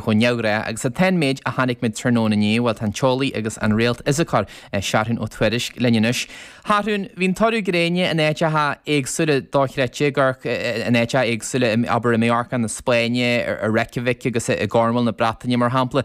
chomh neamhghnách agus atá an méid a chonaic muid tráthnóna inné, bhuel tá an t-eolaí agus an réaltfhisiceoir Seathrún Ó Tuairisg linn anois. Sheathrúin, bhí an toradh gréine in áiteacha éagsúla dochreidte, ag amharc in áiteacha éagsúla, abair i Mallorca na Spáinne, i Reykjavik agus i gCornwall na Breataine mar shampla.